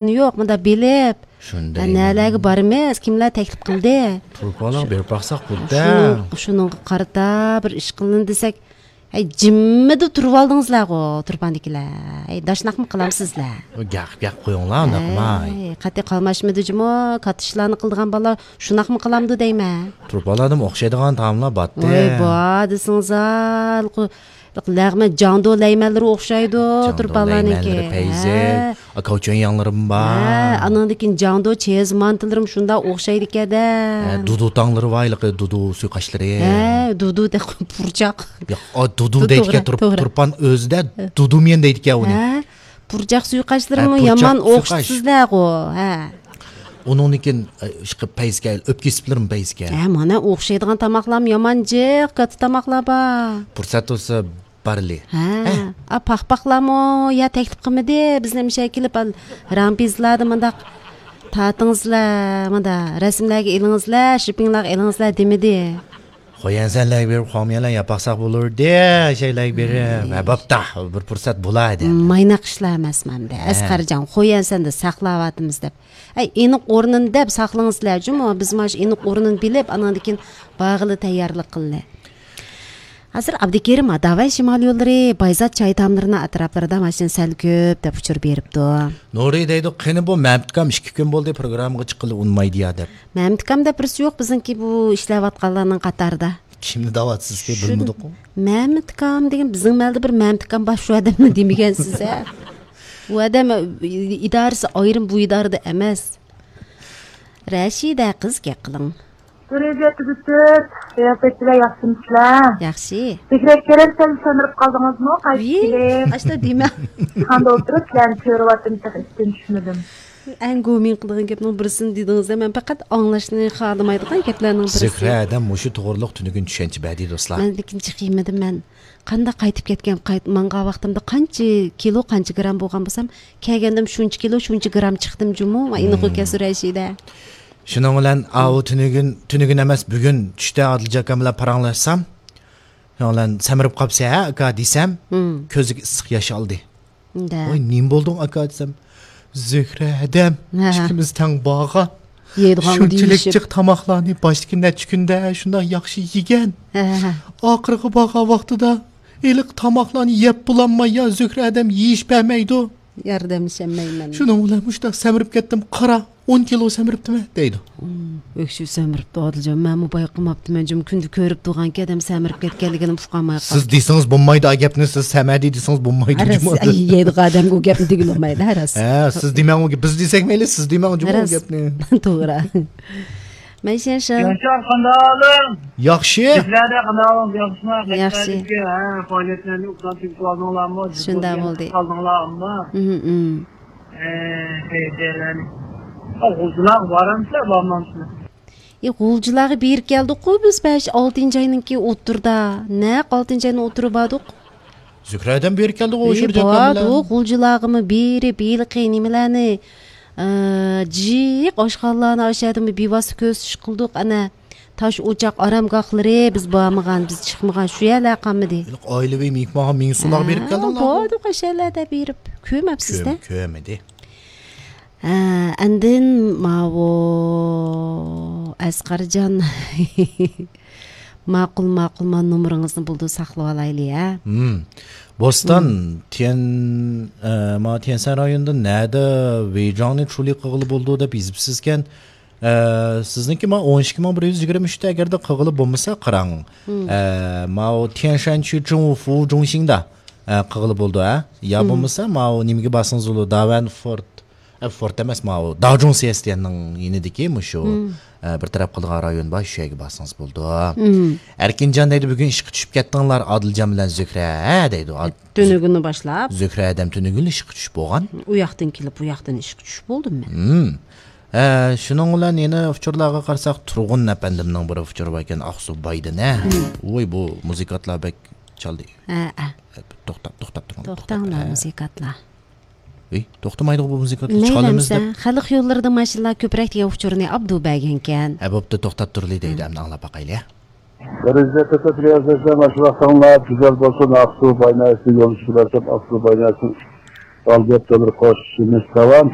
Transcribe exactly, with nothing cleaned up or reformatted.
يوق، مۇنداق بىلىپ، شۇنداق ھە، نەلەرگە بارىمىز، كىملەر تەكلىپ قىلدى؟ تۇرپانلارغا بېرىپ باقساق بولدى. شۇنىڭ، شۇنىڭغا قارىتا بىر ئىش قىلىن دېسەك، ھەي، جىممىدە تۇرۇۋالدىڭىزلەرغۇ، تۇرپاندىكىلەر. ھەي، داشناقمۇ قىلامسىزلەر؟ گەپ، گەپ قويۇڭلار، ئۇنداق قىلماي. ھەي، قەتئىي قالماشمىدى جۇمۇ، كاتتا ئىشلارنى قىلىدىغان بالىلار شۇنداقمۇ قىلامدۇ دەيمەن. تۇرپانلاردىمۇ ئوخشايدىغان تائاملار باتتى. ۋاي، بار دېسىڭىز، ھە، لەغمەن جاڭدۇ لەيمەنلىرى ئوخشايدۇ، جاڭدۇ تۇرپانلارنىڭكى. لەيمەنلىرى، پەيزى، ھە. ئاكاۋچىيەن ياڭلىرىمۇ بار. ھە، ئانىڭدىن كېيىن جاڭدۇ چېيىز مانتىلىرىمۇ شۇنداق ئوخشايدىكەن-دە. ھە، دۇدۇ تاڭلىرى بار، ھېلىقى دۇدۇ سۇيقاشلىرى. ھە، دۇدۇ دەپ پۇرچاق. ياق، ئا، دۇدۇ دەيدىكەن، توغرا، تۇرپان ئۆزىدە ھە. دۇدۇميەن دەيدىكەن ئۇنى. ھە، پۇرچاق سۇيقاشلىرىمۇ ھە، پۇرچاق يامان سۇيقاش. ئوخشىتىسىزلەرغۇ، ھە. ئۇنىڭدىن كېيىن، ئە، ئىشقىلىپ پەيزىكەن، ئۆپكە سىپلىرىمۇ پەيزىكەن. ھە، مانا ئوخشايدىغان تاماقلارمۇ يامان جىق، كاتتا تاماقلار بار. پۇرسەت بولسا بارلى. ھە. ھە. ئا، پاخپاقلارمۇ يا تەكلىپ قىلمىدى، بىزنى مۇشۇ يەرگە كېلىپ، ئال، رامپىزلاردا مۇنداق تارتىڭىزلار، مۇنداق رەسىملەرگە ئېلىڭىزلار، شىپىڭلارغا ئېلىڭىزلار دېمىدى. خويەنسەنلەرگە بېرىپ، خۇاڭميەنلەرنى ياپاقساق بولۇردى، شەيلەرگە بېرىپ. ھە، بوپتا، بىر پۇرسەت بولايدى. مايناق ئىشلار ئەمەسمۇ ئەمدى. ھە. ئەسقەرجان، خويەنسەندە ساقلاۋاتىمىز دەپ. ئەي، ئېنىق ئورنىنى دەپ ساقلىڭىزلەر جۇمۇ، بىز مانا شۇ ئېنىق ئورنىنى بىلىپ، ئانىڭدىن كېيىن بارغىلى تەييارلىق قىللى. ھازىر ئابدۇكېرىم داۋەن شىمال يوللىرى، بايزات چاي تاملىرىنىڭ ئەتراپلىرىدا ماشىنا سەل كۆپ دەپ ئۇچۇر بېرىپتۇ. نۇرى دەيدۇ، قېنى بۇ مەمتىكام ئىككى كۈن بولدى پروگراممىغا چىققىلى ئۇنىمايدۇ يا دەپ. مەمتىكام دەپ بىرسى يوق بىزنىڭكى بۇ ئىشلەۋاتقانلارنىڭ قاتارىدا. كىمنى دەۋاتىسىزكى، شۇ بىلمىدۇققۇ. مەمتىكام دېگەن بىزنىڭ مەھەللىدە بىر مەمتىكام بار، شۇ ئادەمنى دېمىگەنسىز ھە. ئۇ ئادەم ئىدارىسى ئايرىم، بۇ ئىدارىدە ئەمەس. رەشىدە قىز گەپ قىلىڭ. بىر يۈز يەتتە پۈتۈن، قىياپەتچىلەر ياخشىمىسىلەر؟ ياخشى. بېكرەك كېرەك سەل سەمرىپ قالدىڭىزمۇ؟ قايتىپ كېلىپ. ئاشتا دېمە. خاندا ئولتۇرۇپ سىلەرنى كۆرۈۋاتىمەن، تېخى ئىشتىن چۈشمىدىم. ئەڭ گومىڭ قىلىدىغان گەپنىڭ بىرسىنى دېدىڭىز-دە، مەن پەقەت ئاڭلاشنى خالىمايدىغان گەپلەرنىڭ بىرسى. زۆھرە ھەدەم مۇشۇ توغرىلىق تۈنۈگۈن چۈشەنچە بەردى، دوستلار. مەن لېكىن چىقىمىدىم مەن. قانداق قايتىپ كەتكەن، قايت-، ماڭغان ۋاقتىمدا قانچە كىلو، قانچە گرام بولغان بولسام، كەلگەندىم شۇنچە كىلو، شۇنچە گرام چىقتىم جۇمۇ، ئېنىق ئۇكاسى رەشىدە. شۇنىڭ بىلەن ئاۋۇ تۈنۈگۈن، تۈنۈگۈن ئەمەس، بۈگۈن چۈشتە ئادىلجان ئاكام بىلەن پاراڭلاشسام، شۇنىڭ بىلەن سەمرىپ قاپسەن ھە، ئاكا دېسەم، كۆزىگە ئىسسىق ياش ئالدى. ۋاي، نېمە بولدۇڭ، ئاكا دېسەم، زۆھرە ھەدەم، ئىككىمىز تەڭ بارغان. يەيدىغانغا شۇنچىلىك دېيىشىپ. جىق تاماقلارنى باشتىكى نەچچە كۈندە شۇنداق ياخشى يېگەن. ھە، ھە، ھە. ئاخىرقى بارغان ۋاقتىدا ھېلىقى تاماقلارنى يەپ بولالماي، يا زۆھرە ھەدەم يېيىش بەرمەيدۇ. ياردەملىشەلمەيمەن. شۇنىڭ بىلەن مۇشۇنداق سەمرىپ كەتتىم. قارا، ئون كىلو سەمرىپتىمەن، دەيدۇ. ھىم، ئۆكسۈپ سەمرىپتۇ ئادىلجان. مەنمۇ بايقىماپتىمەن جۇمۇ، كۈندە كۆرۈپ تۇرغانكەن ئادەم سەمرىپ كەتكەنلىكىنى ئۇقالماي قالدىم. سىز دېسىڭىز بولمايدۇ ئا گەپنى، سىز سەمەدى دېسىڭىز بولمايدۇ. ھە، راست، جۇمۇ. ئەي، يەيدىغان ئادەمگە ئۇ گەپنى دېگىلى بولمايدۇ، ھە، راست. ھە، سىز دېمەڭ ئۇ گەپ، بىز دېسەك مەيلى، سىز دېمەڭ جۇمۇ ئۇ راست. گەپنى. توغرا. مەيشەن شو. ياشار، قانداق ئەھۋالىڭ؟ ياخشى. سىزلەردە قانداق ئەھۋالىڭ؟ ياخشىمۇ؟ ياخشى. ھە، پائالىيەتلەرنى ئۇزارتىپ ئالدىڭلارمۇ؟ شۇنداق بولدى. قالدىڭلارمۇ؟ ھىم، ھىم. ئە، غۇلجىلارغا بارامسىلەر، بارمامسىلەر؟ ئى، غۇلجىلارغا بېرىپ كەلدۇققۇ بىز بەش، ئالتىنچى ئاينىڭكى ئوتتۇرىدا. نەق ئالتىنچى ئاينىڭ ئوتتۇرىغا باردۇق. زۆھرە ھەدەم بېرىپ كەلدىغۇ ئى، شۇ جاكام بىلەن. باردۇق، غۇلجىلارغىمۇ بېرىپ، ھېلىقى نېمىلەرنى، ئە، جىق ئاشخانىلارنى ئاشۇ يەردىمۇ بىۋاسىتە كۆرسىتىش قىلدۇق. ئەنە، تاش ئوچاق ئارامگاھلىرى، بىز بارمىغان، بىز چىقمىغان، شۇ يەرلەر قالمىدى. ھېلىقى ئائىلىۋى مېھمانغا مىڭ سومغا بېرىپ ھە، كەلدىڭلارغۇ؟ باردۇق، ئاشۇ يەرلەردە بېرىپ. كۆرمەپسىز-دە. كۆم-، كۆرمىدى. ھە، ئاندىن ماۋۇ ئەسقەرجان ماقۇل، ماقۇل، ما نومۇرىڭىزنى بولدى ساقلىۋالايلى، ھە. ھىم. بوستان، ھىم. تيەن، ئە، ما تيەنشەن رايونىدا نەدە ۋېيجاڭنى چۇلى قىلغىلى بولىدۇ دەپ يېزىپسىزكەن. ئە، سىزنىڭكى ما ئون ئىككى مىڭ بىر يۈز يىگىرمە ئۈچتە ئەگەردە قىلغىلى بولمىسا قاراڭ. ھىم. ئە، ماۋۇ تيەنشەن چۈچۈڭ فۇ جۇڭشىڭدا، ئە، قىلغىلى بولىدۇ، ھە. يا ھىم. بولمىسا ماۋۇ نېمىگە بارسىڭىز بولىدۇ، داۋەن فورت. ئە، فورت ئەمەس، ماۋۇ داجۇڭ سىيەسىتيەننىڭ يېنىدىكى مۇشۇ، ھىم. ئە، بىر تەرەپ قىلىدىغان رايون بار، شۇ يەرگە بارسىڭىز بولىدۇ. ھىم. ئەركىنجان دەيدۇ، بۈگۈن ئىشقا چۈشۈپ كەتتىڭلار ئادىلجان بىلەن زۆھرە، ھە، دەيدۇ. ئاد-، تۈنۈگۈننى باشلاپ. زۆھرە ھەدەم تۈنۈگۈنلا ئىشقا چۈشۈپ بولغان. ئۇ ياقتىن كېلىپ، بۇ ياقتىن ئىشقا چۈشۈپ بولدۇم مەن. ھىم. ھە، شۇنىڭ بىلەن يەنە ئۇچۇرلارغا قارىساق، تۇرغۇن ئەپەندىمنىڭ بىر ئۇچۇرى بار ئىكەن، ئاقسۇ بايدىن، ھە. ھىم. ۋوي، بۇ مۇزىكانتلار بەك چالدى. ھە، ھە. توختاپ، توختاپ تۇرۇڭ، توختاپ. توختاڭلار، ھە. مۇزىكانتلار. ئېي، توختىمايدىغۇ بۇ مۇزىكا، مەيلى چالىمىز ئەمىسە، دەپ. خەلق يوللىرىدا ماشىنىلار كۆپرەك دېگەن ئۇچۇرنى ئابدۇ بەرگەنكەن. ھە، بوپتۇ، توختاپ تۇرلى دەيدۇ، ھە. ئەمدى ئاڭلاپ باقايلى. بىرىنچى تۆتە رىيازەتلەر ماشۇ ۋاقتىڭلار گۈزەل بولسۇن، ئاقسۇ بايناسى يولدىشى بىلەن ئاقسۇ بايناسى ئالدىرىپ تۆمۈر قوشۇشىمىز داۋام.